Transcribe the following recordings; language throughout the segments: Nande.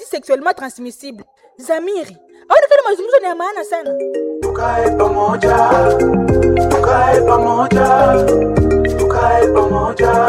Sexuellement transmissible. Zamiri, aonekana mazungumzo ni ya maana sana. Tukae pamoja, tukae pamoja, tukae pamoja.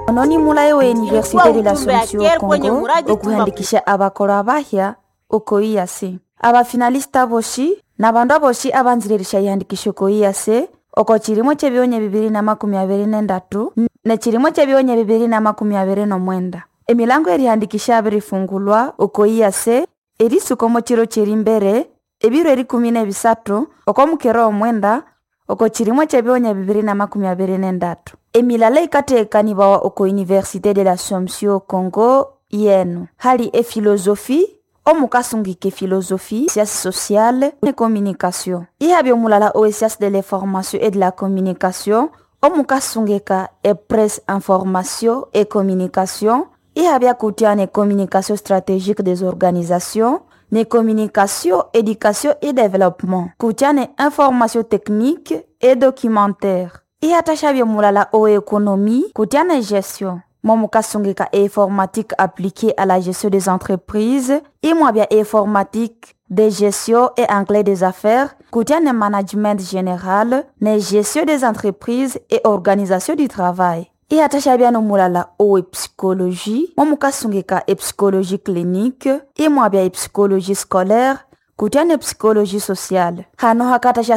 Ononi mulayi wa Université de Ilikuwa ujumbe ya l'Assomption Kier kwenye Congo muradi okuhandikisha abakolo abahya oko EAC. Abafinalista boshi na bandu aboshi abanzirerisha ihandikisho oko EAC oko chilimo chebionya 2023 ne chilimo chebionya 2029. Emilango erihandikisha abirifungulwa oko EAC erisuka omo chiro chiri mbere ebiro erikumi nebisathu oko mukera omwenda oko chilimo chebionya 2023. Emilala ikathekanibawa oko Université de l'Assomption Congo yenu hali efilosofi omukasungika efilosofi, sciences sociales et communication. Ihabya omulala owe sciences de l'information et de la communication omukasungika e presse, information et communication. Ihabya kutya ne communication stratégique des organisations, ne communication, éducation et développement, kutya ne information technique et documentaire. Ihatashabya omulala owe économie kutya ne gestion momukasungika e informatique appliquée à la gestion des entreprises, imwabya e informatique de gestion et anglais des affaires, kutya ne management général, ne gestion des entreprises et organisation du travail. Ihatashabya nomulala owe psychologie, momukasungika e psychologie clinique, imwabya e psychologie scolaire, kutya ne psychologie sociale. Hano hakatasha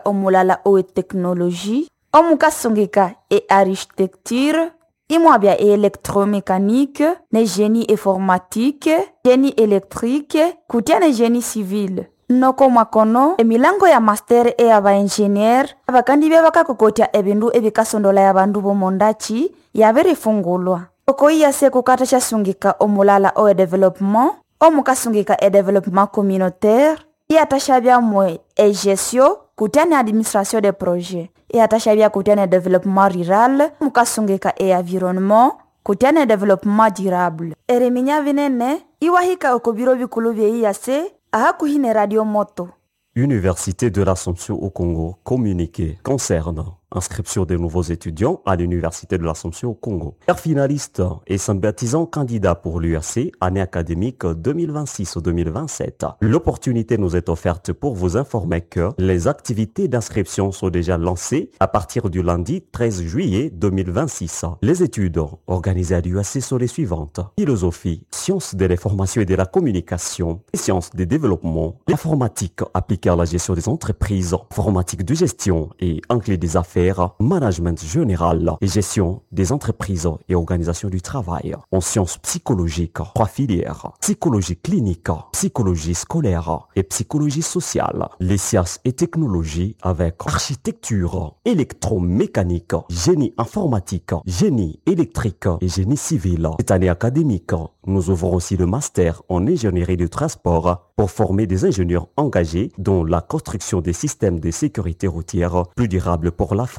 omulala owe technologie, omukasungika e architecture, imwabya e électromécanique, ne génie informatique, génie électrique, kutya ne génie civil. Noko mwakono emilango ya master e abaengineer abakandi bakakokotya ebindu ebikasondola ya bandu bomondachi yabirifungulwa. Oko iyase kukata shasungika omulala owe development, omukasungika e développement communautaire, iyatashabyamwe e gestion kutya ne administration de projet. Iyatashabya kutya ne développement rural, mukasungika e environnement kutya ne développement durable. Eriminya binene iwahika oko biro bikulu bye iyase ahakuhi radio moto. Université de l'Assomption au Congo, communiqué concernant inscription des nouveaux étudiants à l'Université de l'Assomption au Congo. Finaliste et sympathisant candidat pour l'UAC, année académique 2026-2027. L'opportunité nous est offerte pour vous informer que les activités d'inscription sont déjà lancées à partir du lundi 13 juillet 2026. Les études organisées à l'UAC sont les suivantes. Philosophie, sciences de l'information et de la communication, sciences des développements, informatique appliquée à la gestion des entreprises, informatique de gestion et anglais des affaires, management général et gestion des entreprises et organisation du travail. En sciences psychologiques, trois filières, psychologie clinique, psychologie scolaire et psychologie sociale. Les sciences et technologies avec architecture, électromécanique, génie informatique, génie électrique et génie civil. Cette année académique, nous ouvrons aussi le master en ingénierie du transport pour former des ingénieurs engagés dans la construction des systèmes de sécurité routière plus durables pour l'Afrique.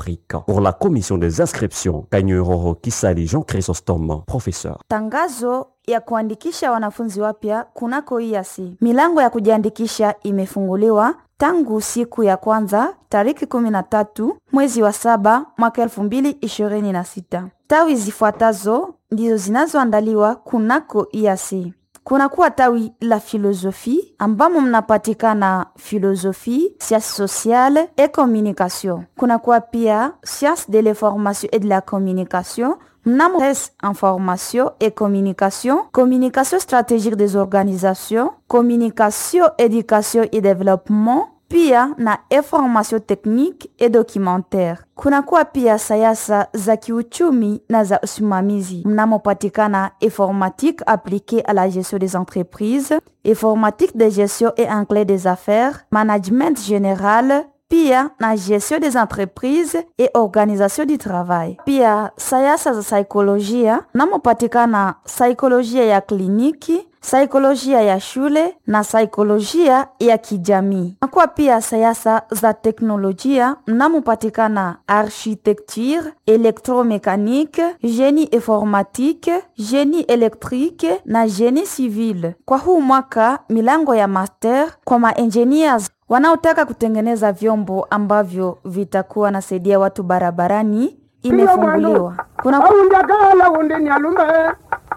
Pour la commission des inscriptions, Kanyuroro Kisali Jean Chrysostome, professeur. Tangazo ya kuandikisha wanafunzi wapya kunako EAC. Milango ya kujiandikisha imefunguliwa tangu siku ya kwanza tariki 13 mwezi wa saba mwaka 2026. Tawi zifuatazo ndizo zinazoandaliwa kunako EAC. Kunakuwa tawi la filosofi ambamo mnapatikana philosophie, sciences sociales et communication. Kunakuwa pia sciences de l'information et de la communication mnamo presse, information et communication, communication stratégique des organisations, communication, éducation et développement, pia na information technique et documentaire. Kunakuwa pia sayasa za kiuchumi na za usimamizi mnamopatikana informatique appliquée à la gestion des entreprises, informatique de gestion et anglais des affaires, management général, pia na gestion des entreprises et organisation du travail. Pia sayasa za saikolojia mnamopatikana saikolojia ya kliniki, saikolojia ya shule na saikolojia ya kijamii. Nakuwa pia sayasa za teknolojia mnamopatikana architecture, électromécanique, génie informatique, génie électrique na génie civil. Kwa huu mwaka milango ya master kwa maengineers wanaotaka kutengeneza vyombo ambavyo vitakuwa nasaidia watu barabarani imefunguliwa. Kuna aundakala undi ni alume.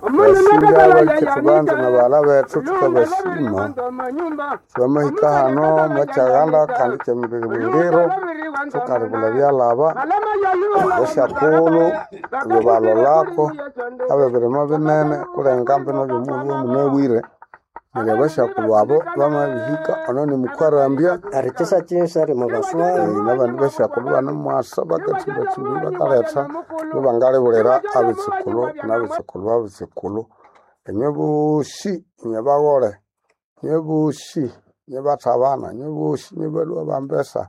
Basinga bakithubanza nabaghala bethu thukabasima. Twamahika hano mwakyaghala kandi kyemibiriro thukalibula ebyalaba esyakulhu ebyabalholako abebirima binene kulenga mbino byomughulhu omunabwire neryo abasyakulhu abo bamabihika ono nimukwarambya. Erikyisa-kyisa rimubaswayo. Nabandi basyakulhu ibanemwasa bakatsimbatsimba bakaletha ibangalibulira abitsukulhu nabitsukulhu babitsukulhu. Inywe bosi inywe baghole, inywe bosi inywe bathabana, inywe bosi inywe balhwa bambesa,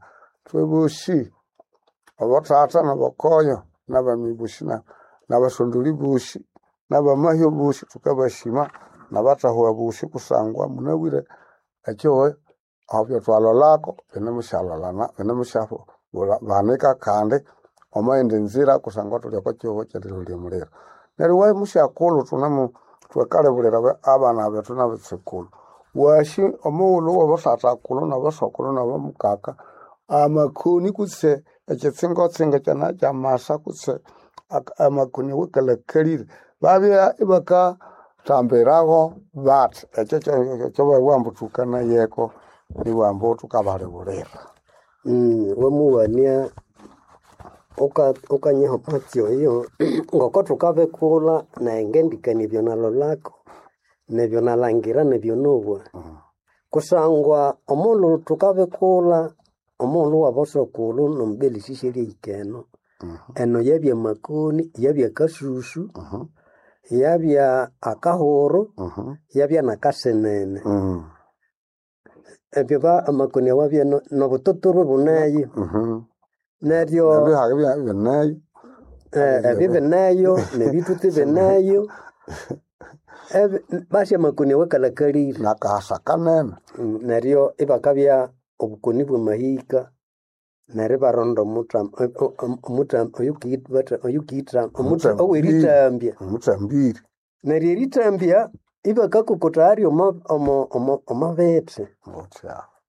ithwe bosi abothatha nabokoyo nabami bosi nabasondoli bosi nabamahyo bosi thukabasima nabathahuwa bosi kusangwa munabwire ekihugho aho byatwalholako binemusyalholana binemusyabanika kandi omwayindi nzira kusangwa thuli oko kihugho kyerilholya omuliro. Neryo iwe musyakulhu thunemu thukalibulira abana bethu nabitsukulhu wasi omughulhu wabosathakulhu nabasokulhu nabamukaka amakoni kutse ekyitsingo-tsingo kyanakya kutse amakoni awakalhakalire babya ibakathambiraho bathi ekyo kyababugha ambu thukanayeko ibabugha ambu thukabalibulira. Wamuwania ukanyiha omwatsi oyo ngoko thukabikulha nayi ngendikania ebyo nalholako nebyo nalhangira nebyo nowa. Kusangwa omughulhu thukabikulha omughulhu wabosokulhu nomubelesisi eryahika eno, eno yabya makoni, yabya akasusu, yabya akahuru, yabya nakasenene. Ebyo amakoni awabya nobututurwe buneyo. Neryo Ebihagha bineyo. Ebyo bineyo nebithuthi bineyo basi amakoni awakalhakalire. Nakahasa kanene. Neryo ibakabya obukoni bwamahika neryo ibaronda owerithambya. Omuthambiri. Neryo erithambya ibakakokotha aryo omo bithi.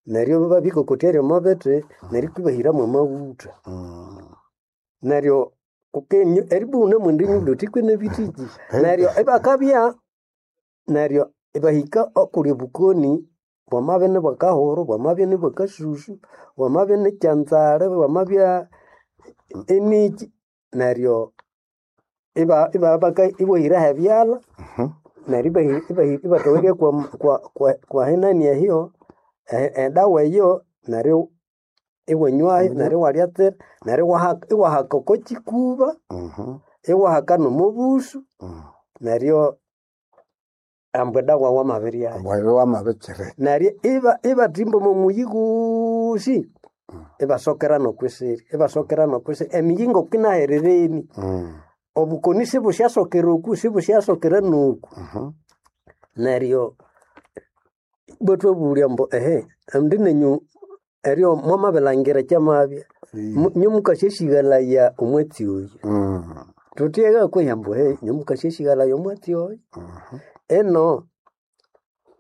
Neryo babikokotya aryo omo bithi neryo kwibahira mwamaghutha. Neryo eribwa iwunemwenda enyuma wuthi kwene bithiki. Neryo ibakabya neryo ibahika okuli obukoni bwamabya inibwakahuru, bwamabya inibwakasusu, bwamabya inikyanzale, bwamabya iniki neryo iwahiraho ebyalha neryo ibathowerya kwahinani eyo edawa eyo neryo iwanywayo neryo iwalyatsira neryo iwahaka oko kikuba, iwahaka nomo busu neryo ambu edawa wamabiryayo. Ambu wamabikireka. Neryo ibathimba omo muyi ghosi ibasokera nokwisiri, ibasokera nokwisiri emiyi ngokinahererenie. Obukoni sibusyasokera oku sibusyasokera noku. Neryo ibathwabulya ambu ehe ambi nenyu eryo mwamabilhangira ekyamabya inywe mukasyasighalaya omwatsi oyu. Thuthi eghe kwehi ambu ehe inywe mukasyasighalaya omwatsi oyu. Ino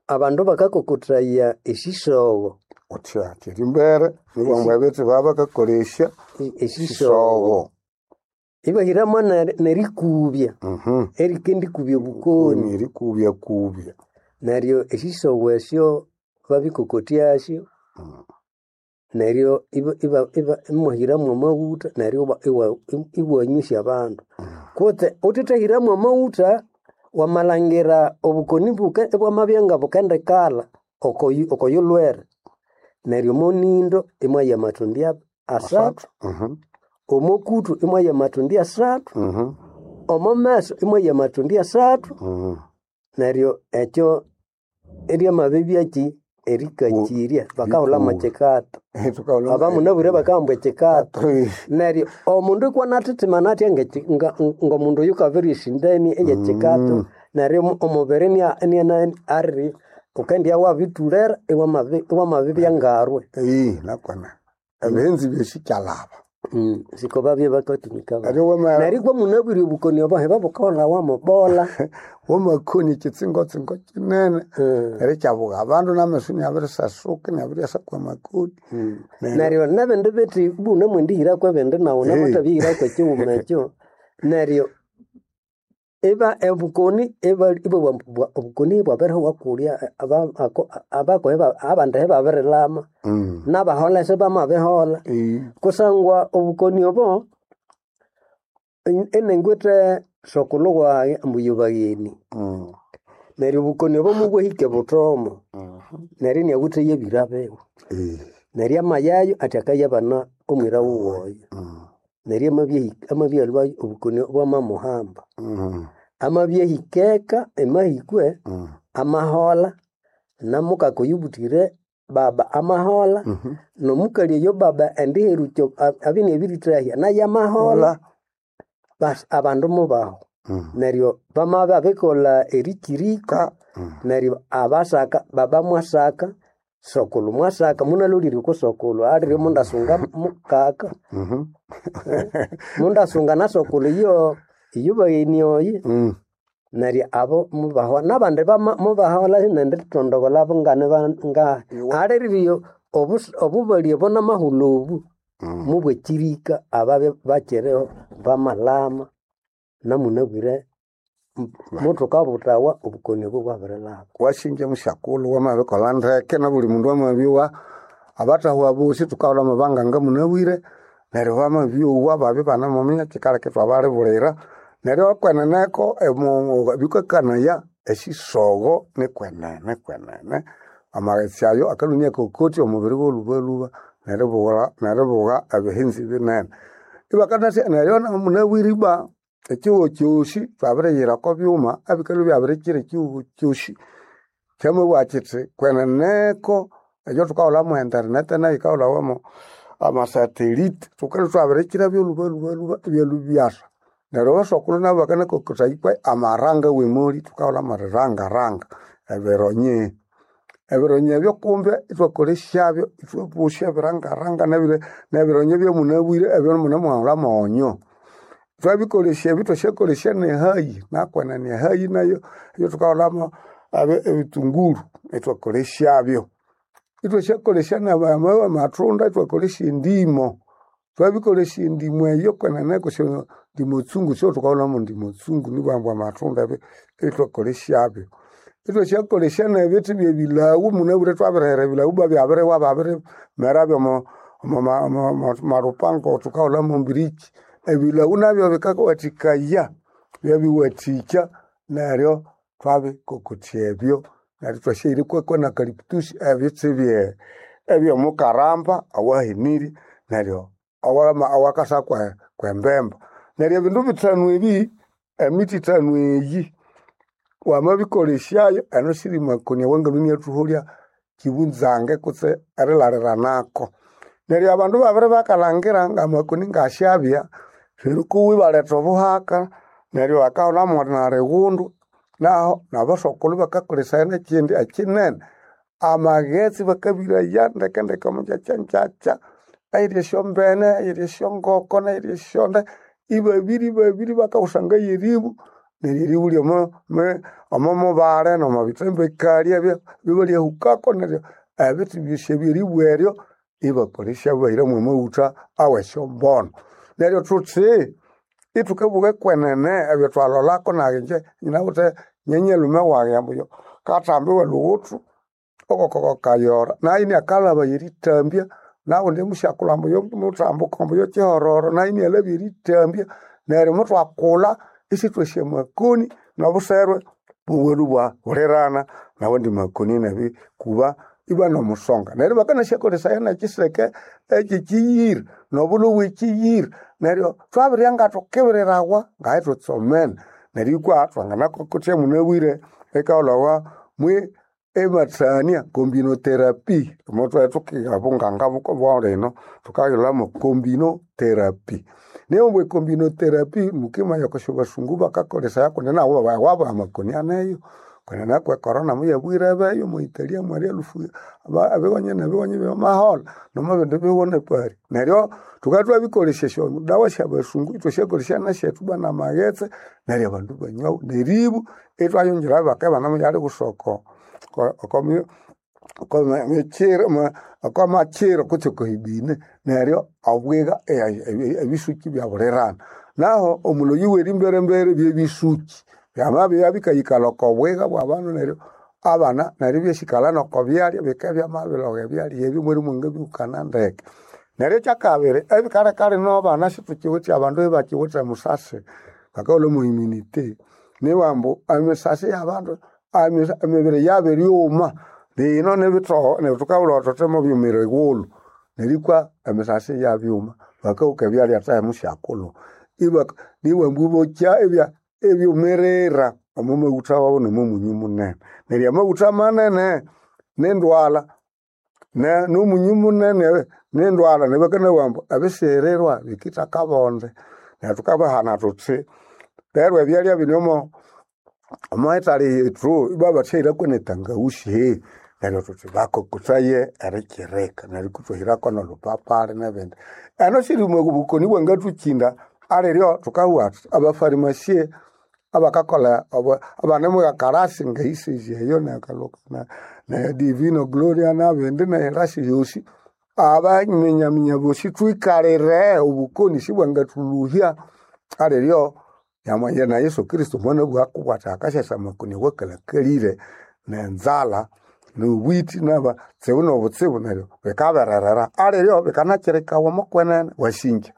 abandu bakakokothaya esisogho. Wuthya kyerimbere nibabugha ambu ebithi babakakolesya Esisogho. Ibahiramu nerikubya erikendikubya obukoni. Erikubyakubya. Neryo esisogho esyo babikokotyasyo neryo imwahiramu amaghutha neryo iwanywesya abandu. Kutse wuthithahiramu amaghutha wamalhangira obukoni ibwamabya ngabukendikalha okoyulhwere neryo omonindo imwaya amathundi asathu, omokuthu imwaya amathundi asathu, omomeso imwaya amathundi asathu neryo ekyo iryamabibya erikakirya bakahulha mwekikato. Abamunabwire bakabugha ambu ekikato. Neryo omundu ikwanathithimana athya ngomundu oyukabirya esindani eyekikato neryo omubiri wukendibya wabithulera iwamabibya ngarwe. Nakwene ebighenzi byosi kyalhaba. Siko babya bakatumika neryo ibwa munabwire obukoni obo ibabukahulhawa mubola. Wamakoni ekyitsingo-tsingo kinene neryo ikyabugha abandu nameso inyabirisasuka inyabiryasa kwamakoni. Neryo nebindi bithi ibunemwendihirako ebindi nawu namathabihirako ekighuma ekyo neryo Eba obukoni eba obukoni bwabirihuwa kulya abakohe abandi babirilama nabaholha sibamabiholha kusangwa obukoni obo iningwithe sokulhu wayi ambu yobagheni neryo obukoni obo mubwahika ebuthomo neryo iniawithe yebira biwe neryo amayayo athi akayabana omwira wuwe oyo neryo amabyalhwayo obukoni bwamamuhamba amabyahikeka emahikwe amaholha namukaka oyubuthire baba amaholha nomukali oyo baba endiherukya abya iniabirithahya nayo amaholha basi abandu mubahu neryo bamabya babikolha erikiriko neryo abasaka baba mwasaka sokulu mwasaka munalolire oko sokulu alire mundasunga mukaka mundasunga na sokulu iyo iyo bagheni oyi neryo abo mubahwa nabandi mubaholha nendithondobolha ngane ngahi aliriyo obubali obo namahulhu obu mubwakirika ababya bakiriho bamalama namunabwire muthukabuthawa obukoni obo bwabirilhaba Wasinja musyakulhu wamabikolha ndeke nabuli mundu amabyowa abatahwa bosi thukaghulha amabanga ngamunabwire neryo bamabyowa babya ibanamuminya kyikaleka ithwabalibulira neryo kweneneko bikakanaya esisogho nikwenene kwenene amaghetse ayo akalhunia ekokoti omubiri wolhubalhuba neribugha ebihinzi binene ibakanasya neryo munabwire ibwa ekyihugho kyosi thwabiriyira oko byuma ebikalhwa ibyabirikira ekyihugho kyosi kyamabugha kyithi kweneneko ekyo thukaghulha mwe internet nayo yikaghulhawa mo amasatelite thukalhwa ithwabirikira byolhubalhubalhuba ibyalhwa ibyasa neryo abasokulhu nabo bakanakokothaikwa amaranga wemoli thukaghulha amarirangaranga ebironye ebironye ebyo kumbe ithwakolesyabyo ithwabosya ebirangaranga nebironye byamunabwire ebyamunamughulha mwonyo thwabikolesya ebi thwasyakolesya nehayi nakwenene ehayi nayo eyo ebitunguru ithwakolesyabyo ithwasyakolesya namathunda ithwakolesya endimo twabikolesya endimo eyo kwenene ndimo tsungu syothukahulhamu ndimo tsungu nibwambu amathunda ebyo ithwakolesyabyo ithwasyakolesya nebithi byebilawu munabwire thwabirihera ebilawu babyabiriwa babirimera byomo malupango thukahulhamu mbiriki ebilawu nabyo bikawathikaya byabiwathikya neryo twabikokotya ebyo neryo thwasyahirekwako na kalipitusi ebithi ebyomukaramba awahenirye neryo awakasa kwembemba neryo ebindu bithanu ebi emithi ithanu eyi wamabikolesyayo eno siri makoni awangalhwa inathuholya kibunzange kutse erilaliranako neryo abandu babiri bakalhangira ngamakoni ngasyabya neryo ibaletha obuhaka neryo bakahulhamu narighundu naho nabasokulhu bakakolesaya nekyindi ekyinene amaghetse bakabiraya ndekendeke omungyakyangyakya eyiri esyombene eyiri esyongoko neyiri esyonde ibabiri babiri bakawusanga yeribu neryo eribu lyomomubale nomobitsembekali ebibalyahukako neryo ebithi byosi ebyeribu eryo ibakolesya bahiramu amaghutha awesyombonu neryo thuthi ithukabugha kwenene ebyo thwalholako nayi inje nyinawithe nyenyelume wayi ambu kathambi welhughuthu okokokayora nayo iniakalhaba yerithambya nawundi musyakulhu ambu muthambuka ambu yokyihororo nayo inialhabya erithambya neryo muthwakulha isithwasya makoni nobuserwe bubwelu bwahulirana nawandi makoni nabikuba iba nomusonga neryo bakanasyakolesaya nekyiseke ekyekiyira nobulhu bwekiyira neryo thwabirya ngathukibirirawa ngayi thutsomene neryo ikwa thwanganakokotya munabwire ekaghulhawa mwe emathania combinotherapy omothuhe thukiha bunganga bwalino thukayilhamo combinotherapy niyo mbwe combinotherapy mukimanya okusya basungu bakakolesaya kundi nabo wabo amakoni aneyo kundi nakwe corona muyabwire beyo muitalia mwali elufu abiwanye nebiwanye byamaholha nomubindi bihugo nepari neryo thukabya thwabikolesya esyodawa syabasungu ithwasyakolesya nesyethu bana amaghetse neryo abandu ibanywawu neribu ithwayongera bakabana busoko okomakyiro kutse okohibine neryo obwiga ebisuki byabulirana. Naho omuloyi w'erimberembere byebisuki byamabya bikayikalha oko bwiga bw'abandu neryo abana neryo ibyasikala noko byalya bikabya byamabiloga ebyalya ebyo mweri mwangabihukana ndeke. Neryo ekyakabiri ebikaleka lino abana situkiwithe abandu ibakiwithe musasi bakaghulha mwa immunity niwambu emisasi y'abandu emibiri yabiryuma lino nibithoho neryo thukabulha thuthi mubyumira ighulhu nerikwa emisasi yabyuma bakahuka ebyalya time syakulhu niwambu ibokya ebyumirira omo maghutha wabo nomo munyu munene. Neryo amaghutha manene nindwalha nomunyu munene nindwalha neryo bakanabugha ambu ebisirirwa bikitha akabonde. Neryo thukabahana thuthi lero ebyalya bino omo ethali yethu ibabathahirako netangawusi neryo thuthi bakokothaye erikirika neryo ithwahirako nolhupapali nebindi. Eno siri bukoni bwangathukyinda aliryo thukabugha thuthi abafarimasie abakakolha abanemughakarasi ngeisezi eyo ne Divino Gloria nabindi nerasi yosi abaminyaminya bosi thwikalire obukoni sibwangathulhuhya aliryo nyamwanya na Yesu Kristo mwanabugha kubwatha akasyasa amakoni awakalhakalire nenzalha nobwiti nabatsibu nobutsibu neryo bikabererera aliryo bikanakyirikawa omokwenene wasinja.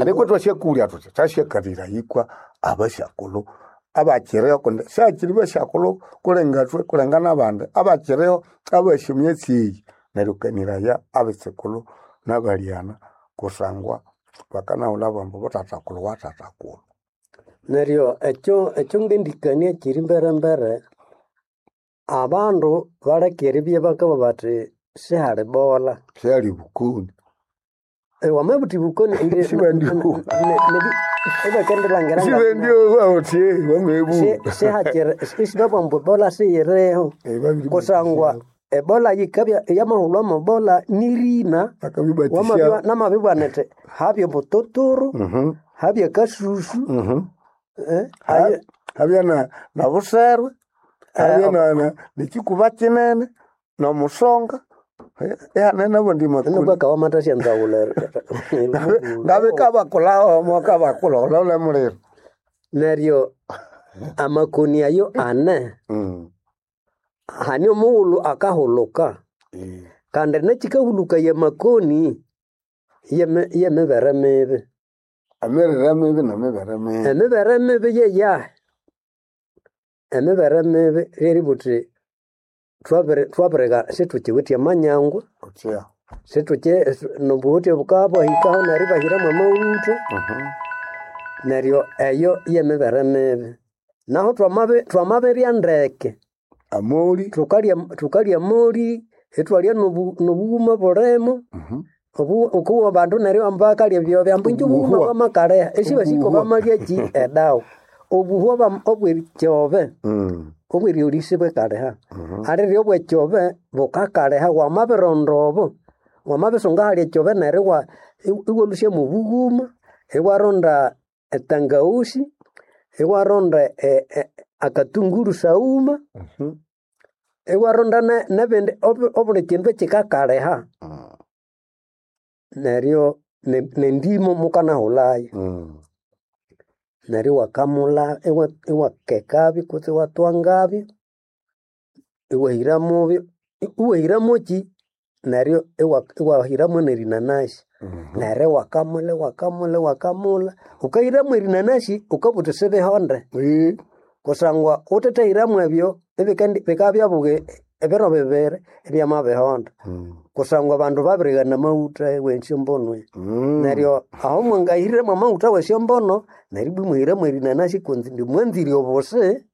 Ariko thwasyakulya thuthi thasyakalira yikwa abasyakulhu abakyiriho kundi syakiri basyakulhu kulengathwe kulenga nabandi abakyiriho abasi emyatsi eyi neryo kaniraya abitsikulhu nabalyana kusangwa bakanahulha bambu buthathakulhu wathathakulhu. Neryo ekyo ekyo ngendikania kiri mberembere abandu baleke eribya bakabugha bathi sihali bola. Syali bukoni. Wamabutha ibukoni indi Sibendyowa. ibakendilangira Sibendyowa uthi wamebugha. sihakiri isibabugha ambu ebola siyiriho kusangwa ebola yikabya yamahulhwa ebola nirina Bakabibatisya. namabibugha nithi habya obututuru habya akasusu Habya nobuserwe habya nekikuba kinene nomusonga ihane nabundi makoni. Nubwo wamathasya nzawulha Ngabikabakulha kabakulha olhole muliro. Neryo amakoni ayo ane hani omughulhu akahulhuka kandi nekikahulhukaya amakoni yemibere mibi. Emirire mibi nemibere mibi. Emibere mibi yeyahi? Emibere mibi lyeribugha wuthi thwabirighana sithukiwithe amanyangwa sithuki nobuhuthi bukabya bwahikaho neryo ibahiramu amaghutha neryo eyo yemibere mibi. Naho twamabirya ndeke amoli thukalya amoli ithwalya nobughuma bulimo wukowa abandu neryo ambu bakalya ebyobe ambu inje obughuma bwamakalhiha isibasiko bamalyaki edawa. Obuhwa obwekyobe obweryolya isibwikalhiha aliryo obwekyobe bukakaliha wamabironda obo wamabisunga ahali ekyobe neryo iwalhusya mwobughuma iwaronda etangawusi iwaronda akatunguru saghuma iwaronda nebindi obuli kindu ekikakaliha neryo nendimo mukanahulhayo. Neryo iwakamulha iwakekabyo kutse iwathwangabyo iwahiramovyo iwahiramoki neryo iwahiramo nerinanasi neryo iwakamulha iwakamulha iwakamulha wukahiramu erinanasi wukabugha wuthi sibihonde kusangwa wuthithahiramu ebyo bikabya ebiro bibiri ibyamabihonda kusangwa abandu babirighana amaghutha wesyombonu neryo aho mwangahiriramu amaghutha wesyombonu neryo ibwa imuhiramu erinanasi kundi mwanzire obusi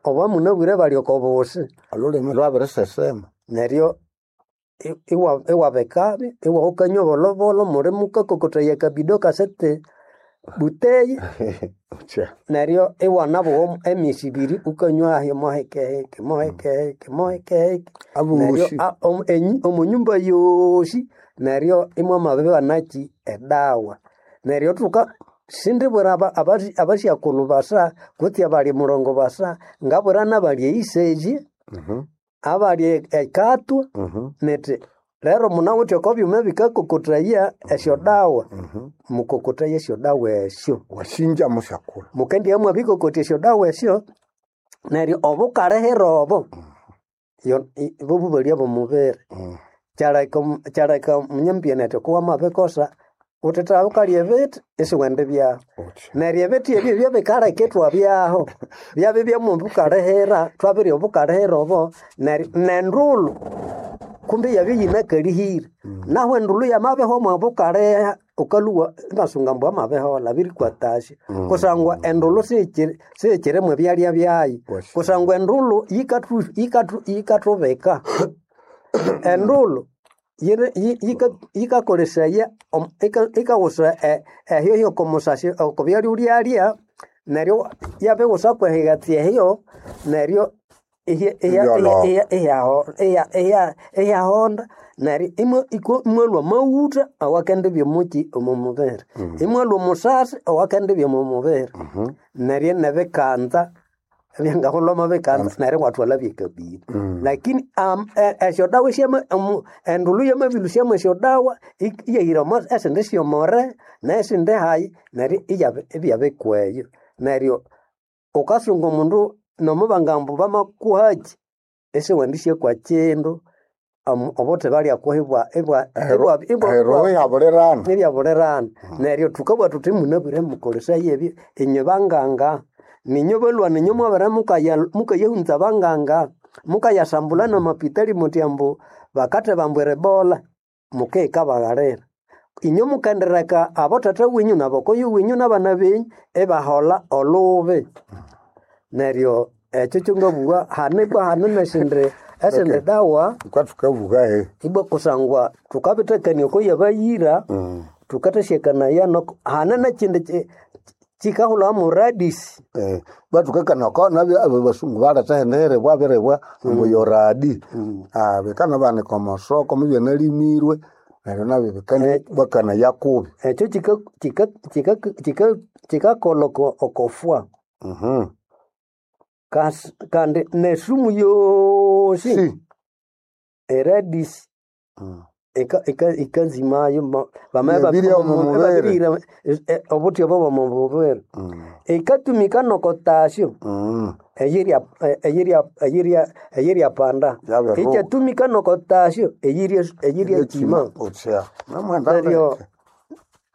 obwamunabwire bali oko busi. Olhulimi lwabirisesema. Neryo iwabikabyo iwahukanywa bolhobolho muli mukakokothaya akabido kasete buteyi neryo iwanabugha emyesi ibiri wukanywa mohekeheke mohekeheke mohekeheke neryo omonyumba yosi neryo imwamabibana edawa. Neryo thuka sindibwira abasyakulhu basa kutse abali murongo basa ngabwira nabali eisezi abali ekatwa nithi Lero munawithe oko byuma ebikakokotaya esyodawa, mukokotaya esyodawa esyo. Wasinja musyakula. Mukendia mwabikokotya esyodawa esyo, neryo obukalihira obo, bobubalya b'omubiri. Kyaleka kyaleka munyambyana athi okuwamabikosa, wuthitha wukalya ebithi isiwenda ibyahu. Neryo ebithi ebyo byabikaleka ithwabyaho, byabya byamubukalihira, twabirya obukalihira obo, neryo nendulhu kumbe iyabya iyinakalihire. Nahu endulhu yamabihwa omwa bukaliha, wukalhuwa ibasunga ambu amabiholha abirikwatasya. Kusangwa endulhu siyikyiri mwebyalya byayu. Kusangwa endulhu yikathubika. Endulhu yikakolesaya yikawusa ehyohyo oko musasi oko byalya wulyalya, neryo yabiwusa kwehighatsi ehyo, neryo ihyahonda neryo imwalhwa amaghutha awakendibya omukyi omo mubiri. Imwalhwa omusasi owakendibya omo mubiri. Neryo nebikanza ebyangahulha omo bikanza neryo iwathwalha byekabiri. Lakini esyodawa endulhu yamabilhusyamu esyodawa iyahira omo esindi syomore nesindi hayi neryo ibyabikweyo. Neryo wukasunga omundu nomubangambu bamakuhakyi isiwendisya kindu obuthi balyakuha Ero ibyabulirana. ibyabulirana. Neryo thukabugha thuthi munabwire mukolesaye ebyo inywe banganga, ninywe balhwani inywe mwabere mukayahunza banganga, mukayasambula namapitali muthi ambu bakatheba ambu eribola, mukihika baghalira. Inywe mukendireka abothatha wenyu nabokoyo wenyu nabana benyu ibaholha olubi. Neryo ekyo kyangabugha hane ibwa hane nesindi esindi dawa Thukathukabuga he. ibwa kusangwa thukabithakania oko yabayira, thukathasyakania noko hane nekyindi kyikahulhawa mu radisi. Bathukakania oko nabyo abo basungu baletha hindi hiribwa biribwa ambu yoradi. Bikanabanika omosoko mubyanalimirwe neryo nabyo bikandi kubi. Ekyo kyikakolha okofwa. Kandi nesumu yosi eradisi ikanzimayo Yabirya omu mubiri. bamabirihira obuthi obo bw'omu mubiri. Ikatumika nokotasyo eyirya panda. Yabirihulha. Ikyatumika nokotasyo eyirya kima. Utsya. Namwenda Neryo ndeke.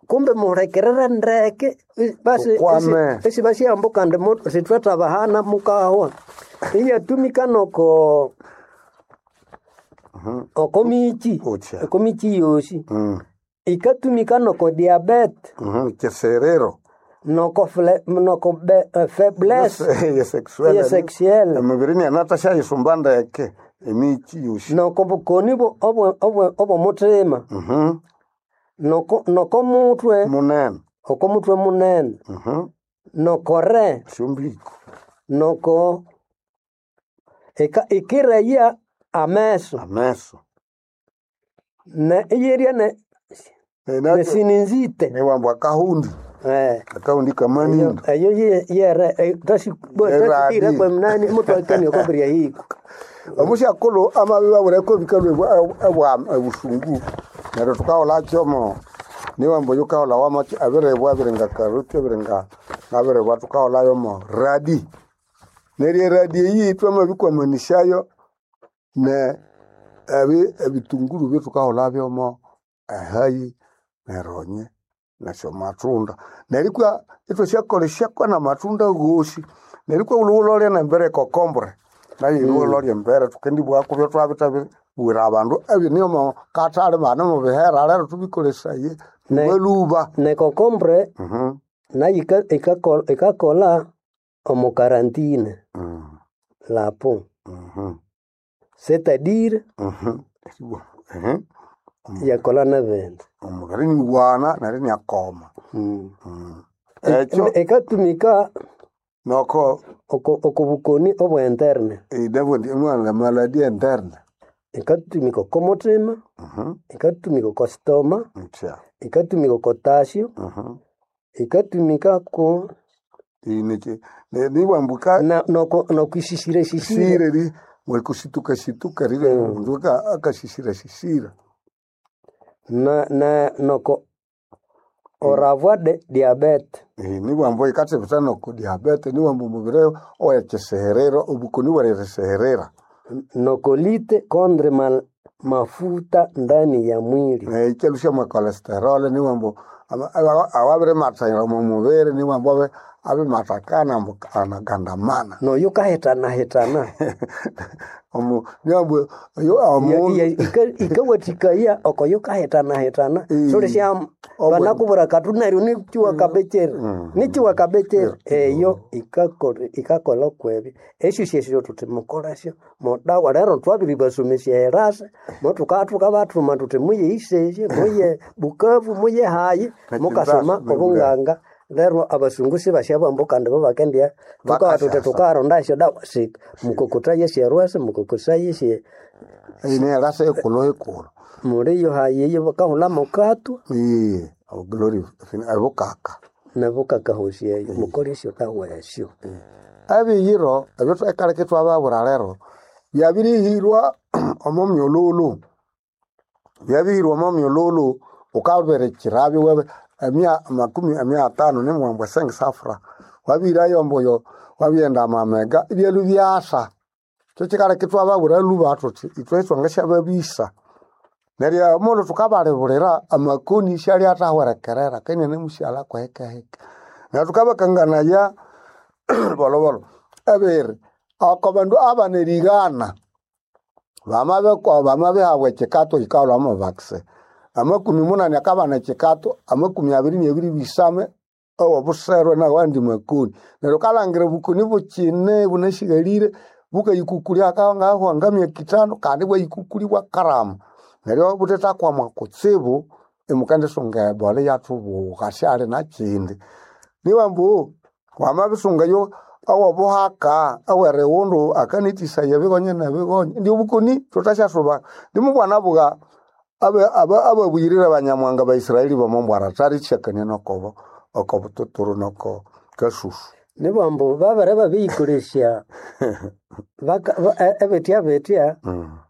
kumbe muhulekerere ndeke basi Ukwame. esibasyambu kandi sithwethabahana mukahwa. Iyatumika noko oko miki Utsya. oko miki yosi. Ikatumika noko diabete. Kyisiriro. Noko noko faiblesse Ye ye sexuelle. Emibiri niyanathasyayisumba ndeke emiki yosi. Noko bukoni obw'omuthima. Noko noko muthwe Munene. oko muthwe munene. Noko re. Syombiko. Noko ikireya ameso. Ameso. Ne iyerya ne nesininzite. Niwambu akahundi. Akahundi kamanindu. Eyo yere Eradi. tashikire kwemnani mutwakania okobirya hiko. Omusyakulhu amabibabwira ebikalhwa ebusungu neryo thukaghulha kyomo niwambu yukaghulha wama ebiribwa ebiringa karoti ebiringa ngabiribwa thukaghulha yomo radi. Neryo eradi eyi twamabikwamanĩsyayo ne ebitunguru byethukaghulha byomo ehayi neronye nesyomatunda. Neryo ikwa ithwasyakolesyako namatunda ghosi. Neryo ikwa wulhowulholye nembere ekokombure nayo yilhowulholye embere thukendibugha kubyo twabithabibwira abandu ebine omo kathali bane mubihera lero thubikolesaye lhubalhuba. Nekokombure nayo ikakolha omo karantine lapo. C'est-à-dire yakolha nebindi. Omubiri niwana neryo iniakoma. Ekyo Ikatumika noko oko bukoni obwa interne. Inabundi mwana maladie interne. Ikatumika oko muthima, ikatumika oko stoma, Utsya. ikatumika oko tasyo, ikatumika ku Iniki niwambuka noko nokwisisira sisira. Sisire ri mwekusituka situka rire mundu akasisira sisira. Na noko oravwa de diabete. Niwambo ikathibitha noko diabete niwambo omubiri owekyiseherero obukoni bweririseherera. Nokolite kondre mafuta ndani ya mwili. Ikyalhusya mwa cholesterol niwambu awabirimathaira omo mubiri niwambu abimathakana ambu anagandamana. Noyo kahitanahitana. Niwambu omundu Ikawathikaya okoyo kahitanahitana sulhisya banakubwira akathu neryo nikiwa kabekere nikiwa kabekere eyo ikakolha kwebyo esyo syesyo thuthi mukolesyo mudawa lero twabiribasomesya erasa motuka thukabathuma thuthi muye Isesye muye Bukavu muye hayi mukasoma obunganga lero abasungu sibasyabugha kandi bo bakendya thukawa thuthi thukaronda esyodawa mukokothaye esyerwesa mukokothaye esye nerasa ekulhu ekulhu muliyo hayi eyo bakahulha mukatwa glory ebukaka nebukaka hosi eyo mukole esyodawa esyo. Ebiyiro ebyo ekaleka ithwababwira lero byabirihirwa omo myululu byabirihirwa omo myululu wukabirikirabyo emia makumi emia atano nimuwambu esengisafura wabihirayo ambu wabighenda amamega ibyalwa ibyasa. Kyo kyikaleka ithwababwira lhuba thuthi ithwe ithwangasyababisa. Neryo omughulhu thukabalibulira amakoni isyalyathahwerekerera kandi inanemusighalha kuhikahika. Neryo thukabakanganaya bolhobolho ebiri oko bandu abana erighana bamabihabwa ekyikato yikaholhwa vaccine. Amakumi munani akabana ekyikato amakumi abiri nabiri bisame owobuserwe nawandi makoni. Neryo wukalhangira obukoni bukyine bunasighalire bukayikukulya ngahwa ngamyaka ithanu kandi ibwayikukulya ibwakarama. Neryo buthethakwama kutsibu imukendisunga ebola iyathubugha syali nakyindi. Nibambu wamabisungayo owobuhaka owerighundu akanithisaya ebigonye nebigonye indi obukoni thuthasyasuba. Ndimubwanabugha ababuyirire abanyamuhanga ba Israeli bomo thalisyakania nokobo okobututuru noko kasusu. Nibambu babere babiyikolesya ebitya bitya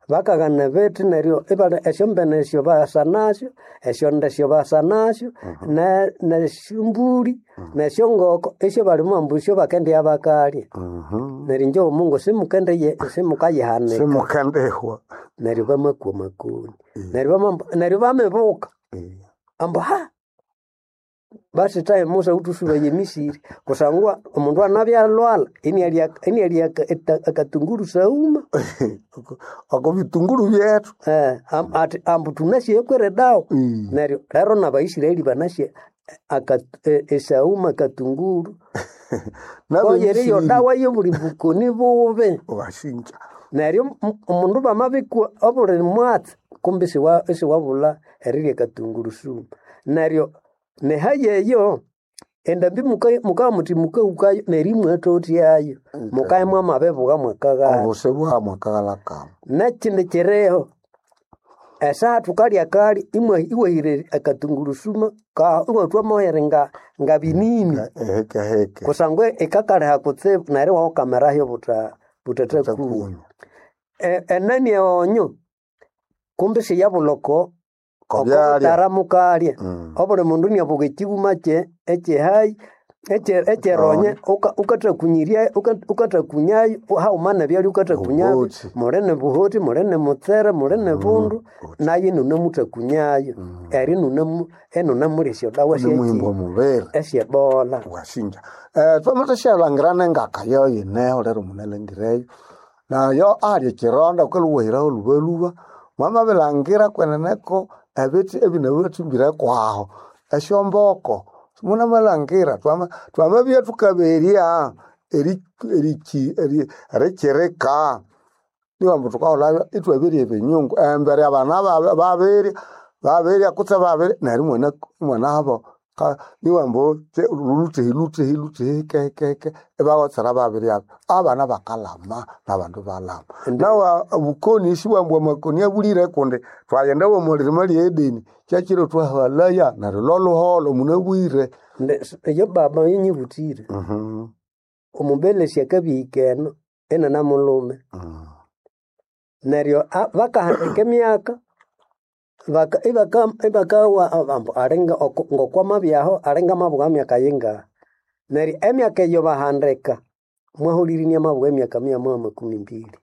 bakaghana ebithi neryo esyombene esyo basa nasyo esyonde esyo basa nasyo nesyombuli nesyongoko esyo balimo ambu esyo bakendibya bakalya. Neryo inje omungu simukayihanika. Simukendihwa. Neryo bamakwa amakoni neryo bamibuka ambu basi tahe Musa wuthusubaya emisiri kusangwa omundu anabya alhwalha inialya akatunguru sauma. Oko bitunguru byethu. Athi ambu thunasi ekwere dawa neryo lero nabaisiraeli banasi esauma akatunguru koyeri yodawa yobuli bukoni bubi. Wasinja. Neryo omundu bamabikwa obuli mwatsi kumbi isiwabulha erirya akatunguru sumu. Neryo nehayi eyo endambi mukabugha muthi mukahukayo neryo imwathotyayo mukabya mwamabibugha mwakaghalha. Obusi bwamwakaghalha kamu. Nekyindi kyiriho esaha thukalya kalya iwahira akatungurusuma iwathwa mohere ngabinini Ehekeheke. kusangwa ikakalhiha kutsibu neryo iwawukamirayo buthathakunywa. Enani eghonyo kumbi siyabulha oko Kobyalya. mukalya obuli mundu iniabuka ekyihuma kye ekyehayi ekyeronye ukathakunyayo haghuma nebyalya ukathakunyayo Obuhoti. muli nibuhoti muli nimutsere muli nibundu nayo inunamuthakunyayo eryo inunamulya esyodawa Nimuhimba omubiri. esyebola. Wasinja. Twamathasyalangira nengaka yoyo yineho lero munalangireyo. Nayo ali ekyironda wukalhuwahiraho lhubalhuba mwamabilangira kweneneko ebithi ebinabathimbire kwaho esyomboko munamalhangira twamabya thukaberya erikyirika niwambu thukaghulhabyo ithwaberya ebinyungu embere abana babirya babirya kutse babirya neryo imwanahaba niwambu luthehi luthehi luthehi hikehikehike ibawotsera babiryabyo abana bakalama nabandu balama. Nawa obukoni sibwambu amakoni abulire kundi twaghenda womwirima lye Edeni kyakyiro thwahalaya neryo lolhuholho munabwire. Eyo baba yanyibuthire omubelesi akabihika eno inanamulhume neryo bakahandika emyaka. Baka ibaka ibakawa ambu alinga ngokwamabyaho alinga mabugha myaka yingaha. Neryo emyaka eyo bahandika mwahulire inamabugha emyaka 120.